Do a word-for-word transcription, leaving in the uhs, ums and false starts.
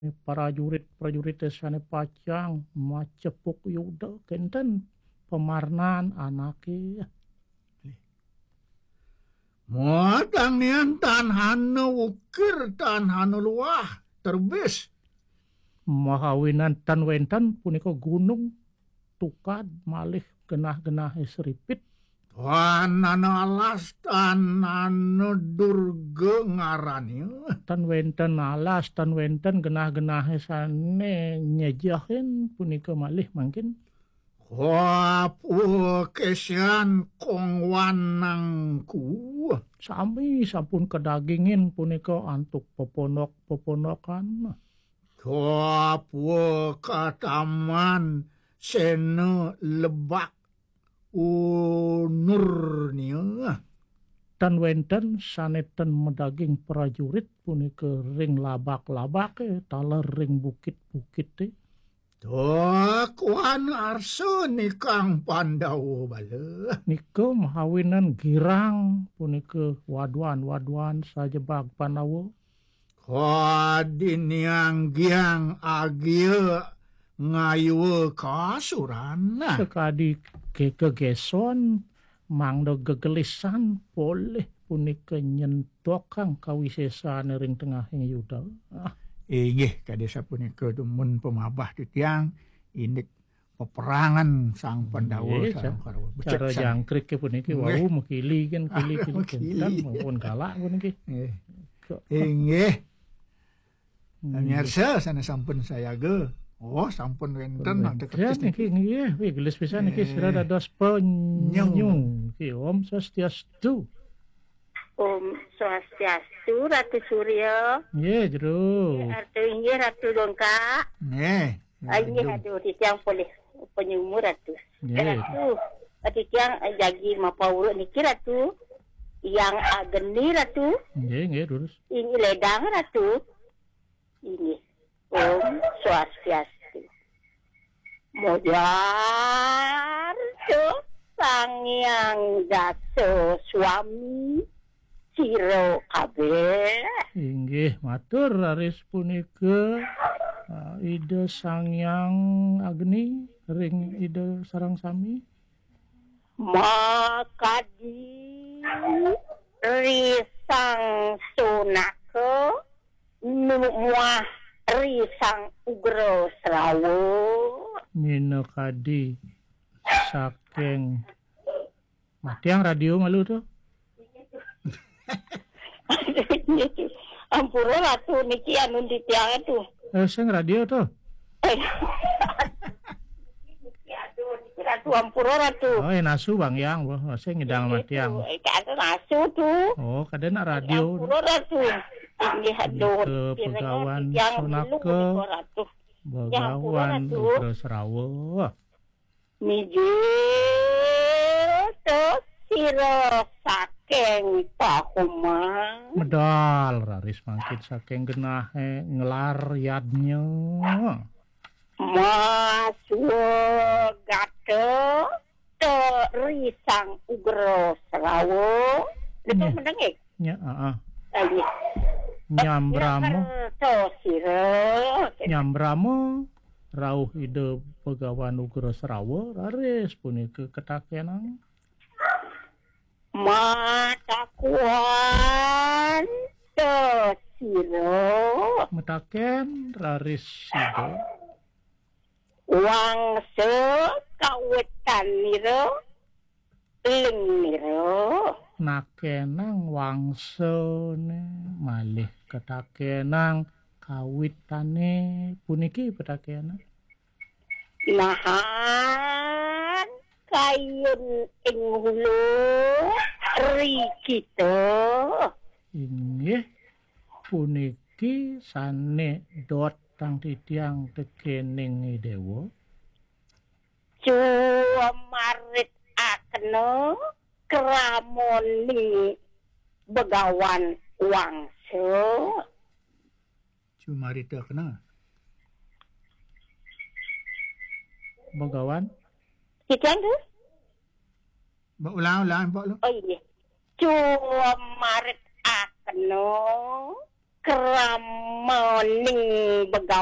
Prajurit-prajurit sané pacang macepuk Yuda, kénten pamarnan anaké. Muatan nian tan hana ukir, tan hana luah, terbis. Mahawinan tan wénten punika gunung tukad malih genah-genahé sripit. Tan hana alas, tan hana durga ngarané. Tan wénten alas, tan wénten genah-genahé sané nyejehin punika malih mangkin. Kapekesian kongwanangku. Sami sampun kadagingin punika antuk peponok-peponokan. Kapekataman sena lebak unurnia. Tan wénten sané ten madaging prajurit punika ring labak-labaké taler ring bukit-bukité. Tukuan arsa nikang Pandawa bala. Nika mahawinan girang punika waduan-waduan sajebag Pandawa. Kadiniang giang agia ngayua kasuran. Sakadi ke-, kegeson mangda gegelisan polih punika nyentokang kawisésané ring tengahing Yuda. Ah. Inggih, kadi sapunika dumun pamabah titiang indik peperangan Sang Pandawa. Nggih, sareng ca-, Kurawa. Cara Becik sang jangkriké puniki. Nggih. Wau makili kan, kili-kili. Makili. Kénten maupun galak puniki. Nggih. Kok. Inggih. Hmm. Pemirsa, sané sampun sayaga. Oh, sampun wénten. Wénten ada kertas niki, niki. Nggih, wih, gelis pisan niki, eh, sira dados penyu. Nyu. Niki, Om Swastiastu. Om Swastiastu, Ratu Surya. Nggih, Jero. Nggih, Ratu, inggih, Ratu Dongkak. Nggih. Ah, inggih, aduh. Aduh, titiang polih penyumur, Ratu. Nggih. Ratu, titiang, eh, jagi mapauruk niki, Ratu. Yang Agni, Ratu. Nggih, nggih, terus. Ini ledang, Ratu. Inggih. Om Swastiastu. Mojar Sang Hyang Dasa Swami sira kabéh. Inggih, matur raris punika, ah, Ida Sang Hyang Agni ring Ida sareng sami. Makadi ri Sang Sonaka, nu-, muah ri Sang Ugra Srawa. Minakadi saking. Matiang radio malu to. Ampura Ratu niki anu titiang tu. Eh, sing radio to. Eh. Ratu, ampura, Ratu. Oh, eh, nasu Bang Yang, wah, sing ngidang matiang. Eh, kada nasu tu. Oh, kada nak radio. Ampura, Ratu. Inggih, aduh, Nika Pegawan titiang Sonaka, milu punika, Ratu. Inggih, ampura, Begawan Ratu. Ugra Srawa. Mijil to sira saking Pahomang. Medal raris mangkin saking genahé nglar yadnya. Maswagata to ri Sang Ugra Srawa. Nika Nyeh. Meneng, eh? Nya, heeh. Ah, nggih. Nyambrama. Kerto sira. Nyambrama rauh Ida Begawan Ugra Srawa, raris punika ketakenang. Matakuan to sira. Metaken raris Ida. Wangsa kawitanira, lingnira. Nakenang wangsané, malih ketakenang kawitané, puniki petakenang. Nahan kayun ing hulu ri kita. Inggih, puniki sané dot tang titiang tekening Déwa. Cumarit akena kramoni Begawan Wangsa. Cumarit akena. Begawan? Titiang tu? Mbok ulang, ulang, Mbok, lu. Oh, iya. Cumarit akena Krama ning begawe.